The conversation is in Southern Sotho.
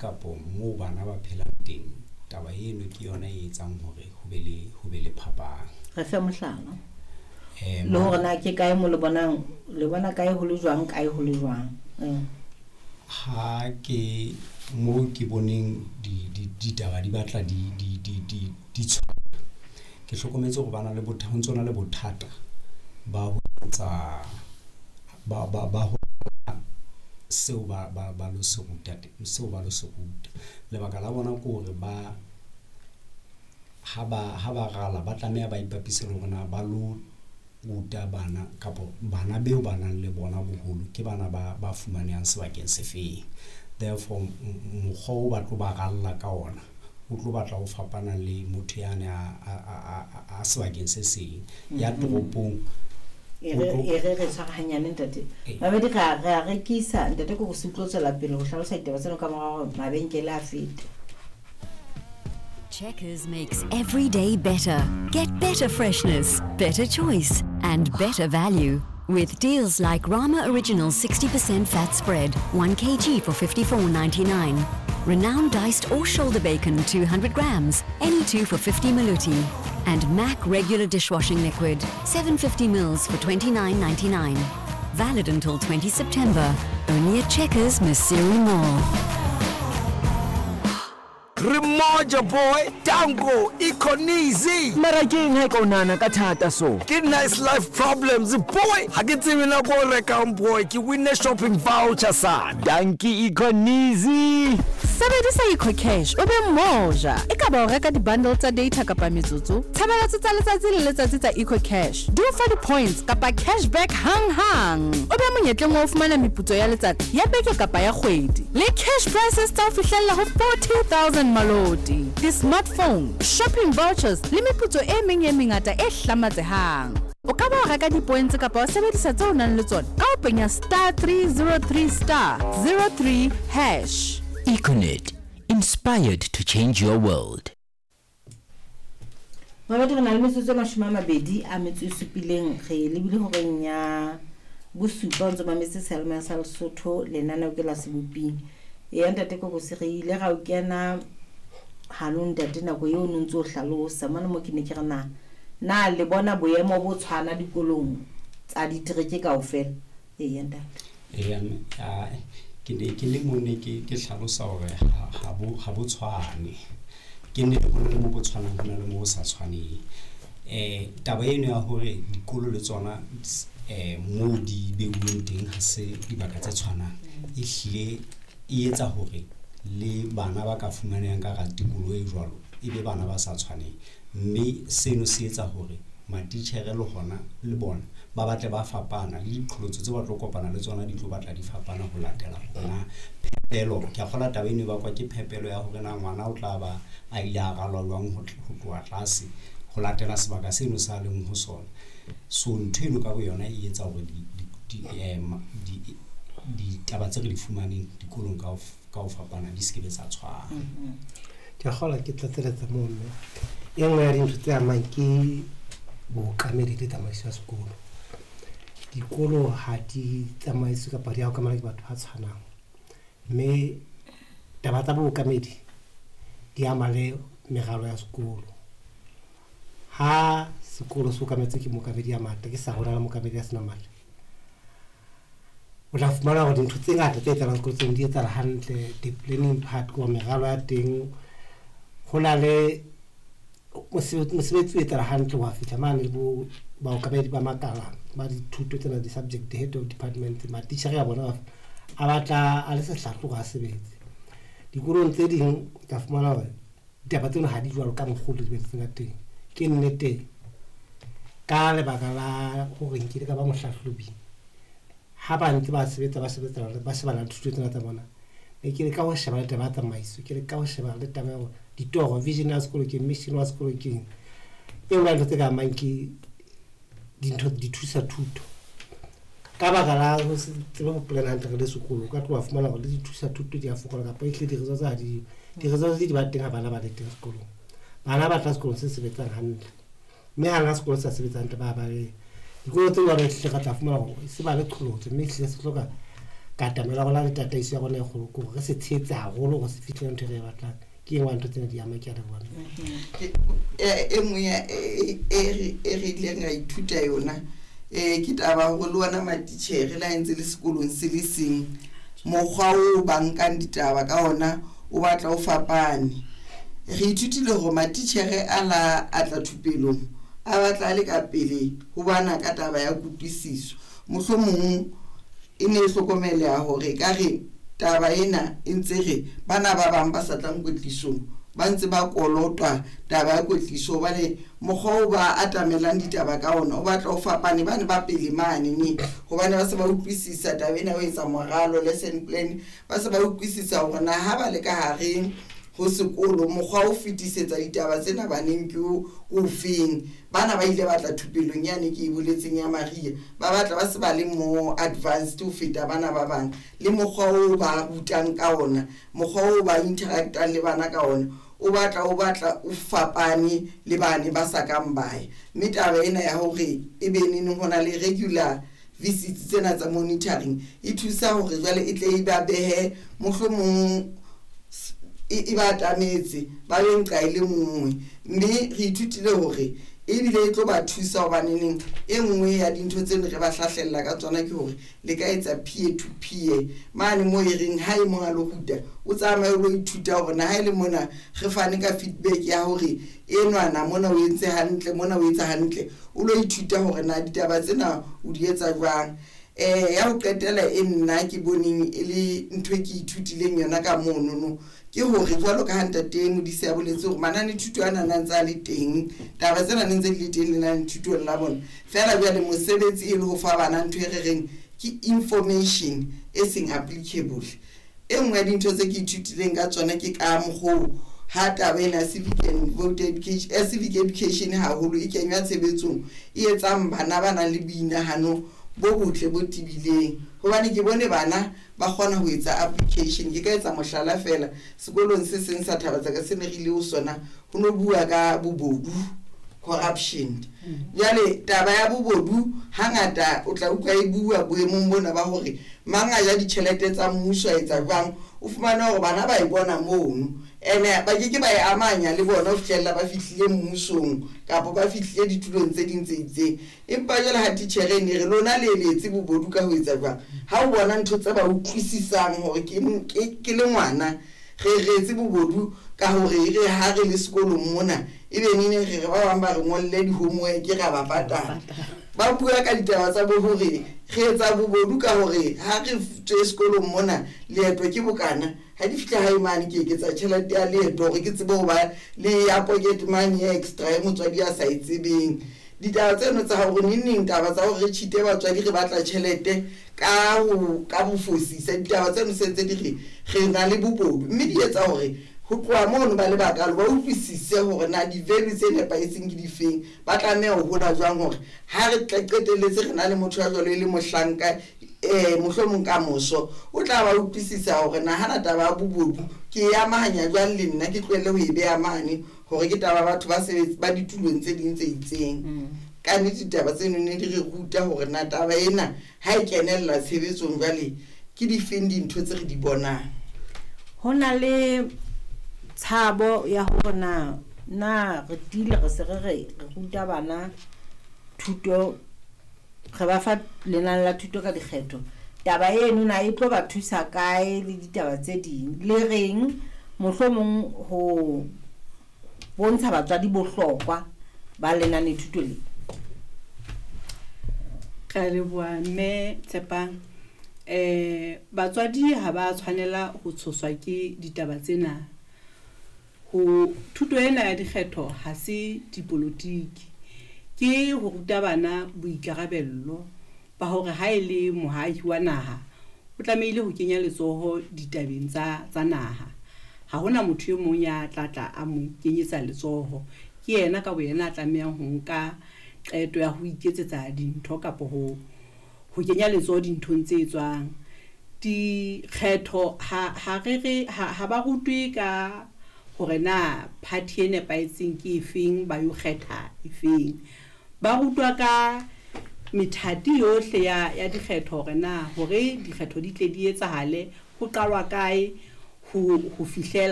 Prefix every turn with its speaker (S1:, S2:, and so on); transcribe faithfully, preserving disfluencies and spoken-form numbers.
S1: kapo moo bana ba phelang teng, taba eno ke yona e etsang hore ho be le ho be le phapang.
S2: Re fe mohlala.
S1: Eh,
S2: Le hore na ke kae mo le bonang, le bona kae ho le jwang, kae ho le jwang. Mm.
S1: Ha ke mo ke boneng di di ditaba di batla di di di di di tshwana, ke hlokometse hore bana le botha ho ntso na le bothata ba ho etsa ba ba ba ho seo ba ba ba lo se ruta seo ba lo se ruta. Lebaka la bona ke hore ba ha ba ha ba rala ba tlameha ba ipapise le hore na ba lo ruta bana kapo bana beo ba nang le bona boholo ke bana ba ba fumanehang sebakeng se feng. Therefore, mokgwa o ba tlo ba ralla ka ona o tlo batla ho fapana le motho yane a a a a sebakeng se seng ya toropong.
S2: E re e re re tshwara hanyane ntate. Babedi re a re a rekisa ntate ko go se utlwe tswela pele ho hlalosa ditaba tseno ka mora hore mabenkele a fete.
S3: Checkers makes every day better. Get better freshness, better choice, and better value. With deals like Rama Original sixty percent fat spread, one kilogram for fifty-four ninety-nine. Renowned diced or shoulder bacon, two hundred grams, any two for fifty maluti. And Mac regular dishwashing liquid, seven fifty mils for twenty-nine ninety-nine. Valid until twentieth September. Only at Checkers, Maseru Mall.
S4: Remoja boy, Tango, Econeasy.
S5: Mara ke eng ha e ka o nahana ka thata so?
S4: Ke nice life problems boy. Ha ke tsebe nako o rekang boy, ke winne shopping voucher sana.
S5: Dankie Econeasy.
S6: Sebedisa EcoCash o be moja. E ka ba o reka di-bundle tsa data kapa metsotso, tshebeletso tsa letsatsi le letsatsi tsa EcoCash di o fa di-points kapa cashback hang-hang. O be monyetleng wa ho fumana meputso ya letsatsi, ya beke kapa ya kgwedi. Le cash prizes tsa ho fihlella ho forty thousand maloti, di-smartphone, shopping vouchers le meputso e meng e mengata e hlamatsehang. O ka ba wa reka di-points kapa wa sebedisa tseo o nang le tsona ka ho penya star three zero three star zero three hash.
S7: Econet, inspired to change your world.
S2: Mabedi re na le metsotso e mashome a mabedi a metso e supileng, re lebile horeng ya bosupa o ntso mametse seyalemoya sa Lesotho lenaneo ke la Seboping. Eya ntate Kokosi, re ile ra o kena hanong ntate nako eo o no ntso o hlalosa mane mo ke ne ke re na na le bona boemo bo tshwana dikolong tsa ditereke kaofela. Eya ntate.
S1: Eya, a ke ne ke le mo ne ke ke hlalosa hore ha ha bo ha bo tshwane. Ke ne ho le mo bo tshwanang ho na le mo bo sa tshwaneng. Eh taba eno ya hore dikolo le tsona eh mo di beuweng teng ha se dibaka tse tshwanang, e hlile e etsa hore le bana ba ka fumanehang ka hara tikoloho e jwalo e be bana ba sa tshwaneng, mme seno se etsa hore matitjhere le hona le bona ba batle ba fapana le diqholotso tse ba tlo kopana le tsona di tlo batla di fapana ho latela hona phepelo. Ke a kgolwa taba eno e bakwa ke phepelo ya hore na ngwana o tla ba a ile a ralwa jwang ho tloha tlase ho latela sebaka seno sa leng ho sona. So ntho eno ka boyona e etsa hore di di di ditaba tse re di fumaneng dikolong ka ka ho fapana di se ke be tsa tshwana.
S8: Ke a kgolwa ke tlatseletsa moo mme e nngwe ya dintho tse amang ke bookamedi le tsamaiso ya sekolo. Dikolo ha di tsamaiswe kapa di a okamela ke batho ba tshwanang, mme taba tsa bookamedi di ama le meralo ya sekolo. Ha sekolo se okametswe ke mookamedi ya matla, ke sa hona le mookamedi ya senang matla, o tla fumana hore dintho tse ngata tse etsahalang sekolong di etsahala hantle. The planning part ko meralo ya teng, ho na le mosebetsi o etsahala hantle wa fihla mane le bo baokamedi ba makala ba dithuto tsena, di-subject head of department, matitjhere a bona a batla a le sehlahlo hore a sebetse. Dikolong tse ding ka fumana hore ditaba tseno ha di jwalo ka mokgwa o di sebeditseng ka teng. Ke nnete ka lebaka la hore nkile ka ba mohlahlobi, ha ba ntse ba sebetsa ba sebetsa ba shebana le thuto tsena tsa bona, ne ke leka ho sheba le taba ya tsamaiso, ke leka ho sheba le taba ya hore ditoro, vision ya sekolo ke mission wa sekolo ke eng. E nngwe ya dintho tse ka amang ke dintho di thusa thuto. Ka baka la ho se tsebe ho plan hantle re le sekolo, o ka tloha fumana hore le dithusa thuto di a fokola kapa ehlile di-results ha di, di-results di ba teng ha bana ba le teng sekolong. Bana ba tla sekolong se sebetsang hantle, mme hang ha sekolo se sa sebetse hantle ba baleha. Dikolo tse jwalo ehlile re tla fumana hore se ba le qholotso, mme ehlile se hloka Katamelo ya rona le tataiso ya rona e kgolo ke hore re se tshehetse haholo hore se fihlele ntho e re e batlang. Ke e nngwe ya ntho tsena di ama, ke a leboha.
S9: E nngwe e re ileng ra ithuta yona um ke taba hore le ona matitjhere le ha ntse le sekolong se le seng, mokgwa o ba nkang ditaba ka ona o batla o fapane. Re ithutile hore matitjhere a la a tla thupelong a batla a le ka pele ho bana ka taba ya kutlwisiso. Mohlomong e ne e hlokomeleha hore ekare taba ena e ntse re bana ba bang ba sa tlang kwetlisong ba ntse ba kolotwa taba ya kwetliso, hobane mokgwa o ba atamelang ditaba ka ona o batla o fapane. Bane ba pele mane ne hobane ba se ba utlwisisa taba ena ho etsa moralo, lesson plan, ba se ba utlwisisa hore na ha ba le ka hare ho sekolo mokgwa o fetisetsa ditaba tsena baneng ke o ofeng. Bana ba ile batla thupelong yane ke e boletseng ya Maria, ba batla ba se ba le more advanced ho feta bana ba bang, le mokgwa o ba rutang ka ona, mokgwa o ba interactang le bana ka ona o batla o batla o fapane le bane ba sa kang bae. Mme taba ena ya hore e be neng ho na le regular visits tsena tsa monitoring e thusa hore jwale e tle e ba behe mohlomong e ba atametse ba be nqa e le nngwe. Mme re ithutile hore ebile e tlo ba thusa hobaneneng e nngwe ya dintho tseno re ba hlahlella ka tsona ke hore le ka etsa peer to peer mane mo e reng ha e mong a lo ruta o tsamaye o lo ithuta hore na ha e le mona re fane ka feedback ya hore enwana mona o entse hantle, mona o etsa hantle, o lo ithuta hore na ditaba tsena o di etsa jwang. Eh ya ho qetela e nna ke boneng e le ntho e ke ithutileng yona ka mono no ke hore jwalo ka ha ntate Modise a boletse hore manane thuto ana na ntse a le teng, taba tsena ne ntse di le teng lenane thutong la bona, fela jwale mosebetsi e le ho fa bana ntho e re reng ke information e seng applicable. E nngwe ya dintho tse ke ithutileng ka tsona ke ka mokgwa ha taba ena civic and voter education, civic education haholo e kenywa tshebetsong e etsang bana ba nang le boinahano bo botle bo tibileng, hobane ke bone bana ba kgona ho etsa application. Ke ka etsa mohlala fela sekolong se seng sa Thabatsaka se ne re ile ho sona, ho no bua ka bobodu, corruption. Jwale taba ya bobodu hangata o tla utlwa e bua boemong bona ba hore mang a ja ditjhelete tsa mmuso a etsa jwang, o fumane hore bana ba e bona mono ene ba ke ke ba e amanya le bona ho fihlella ba fihlile mmusong kapa ba fihlile ditulong tse ding tse itseng. Empa jwale ha titjhere ne re lona le eletse bobodu ka ho etsa jwang, ha o bona ntho tse ba utlwisisang hore ke ke le ngwana re retse bobodu ka hore re ha re le sekolong mona ebe nene re re ba bang ba re ngolle di-homework ra ba patala. Ba bua ka ditaba tsa bo hore re etsa bobodu ka hore ha re tswe sekolong mona leeto ke bokana, ha di fihla hae mane ke eketsa tjhelete ya leeto hore ke tsebe ho ba le ya pocket money extra e motswadi a sa e tsebeng. Ditaba tseno tsa hore neng neng taba tsa hore re cheat-e batswadi re batla tjhelete ka ho ka bofosisa, ditaba tseno se ntse di re re na le bobodu, mme di etsa hore ho tloha mono ba le bakalo ba utlwisise hore na di-value tse nepahetseng ke difeng, ba tlameha ho hola jwang hore ha re qetelletse re na le motho ya jwalo e le mohlanka eh mohlomong ka moso o tla ba utlwisisa hore na hana taba ya bobodu ke e amahanya jwang le nna, ke tlohelle ho e beha mane hore ke taba batho ba sebetsi ba ditulong tse ding tse itseng. Ka nnete ditaba tseno ne di re ruta hore na taba ena ha e kenella tshebetsong jwale ke difeng dintho tse re di bonang.
S2: Ho na le tshabo ya hore na na re tiile re se re re ruta bana thuto, re ba fa lenane la thuto ka dikgetho, taba eno na e tlo ba thusa kae le ditaba tse ding, le reng mohlomong ho bontsha batswadi bohlokwa ba lenane thuto le.
S10: Ka leboha mme Tshepang. Eh batswadi ha ba tshwanela ho tshoswa ke ditaba tsena. Ho thuto ena ya dikgetho ha se dipolotiki, ke ho ruta bana boikarabello ba hore ha e le moahi wa naha o tlamehile ho kenya letsoho ditabeng tsa tsa naha. Ha hona motho e mong ya tla tla a mo kenyetsa letsoho, ke yena ka boyena a tlamehang ho nka qeto ya ho iketsetsa dintho kapa ho ho kenya letsoho dinthong tse etswang. Dikgetho ha ha re re ha ba rutwe ka hore na party e nepahetseng ke efeng, ba yo kgetha efeng. Ba rutwa ka Methati yohle ya ya dikgetho hore na hore dikgetho di tle di etsahale, ho qalwa kae ho ho fihlela.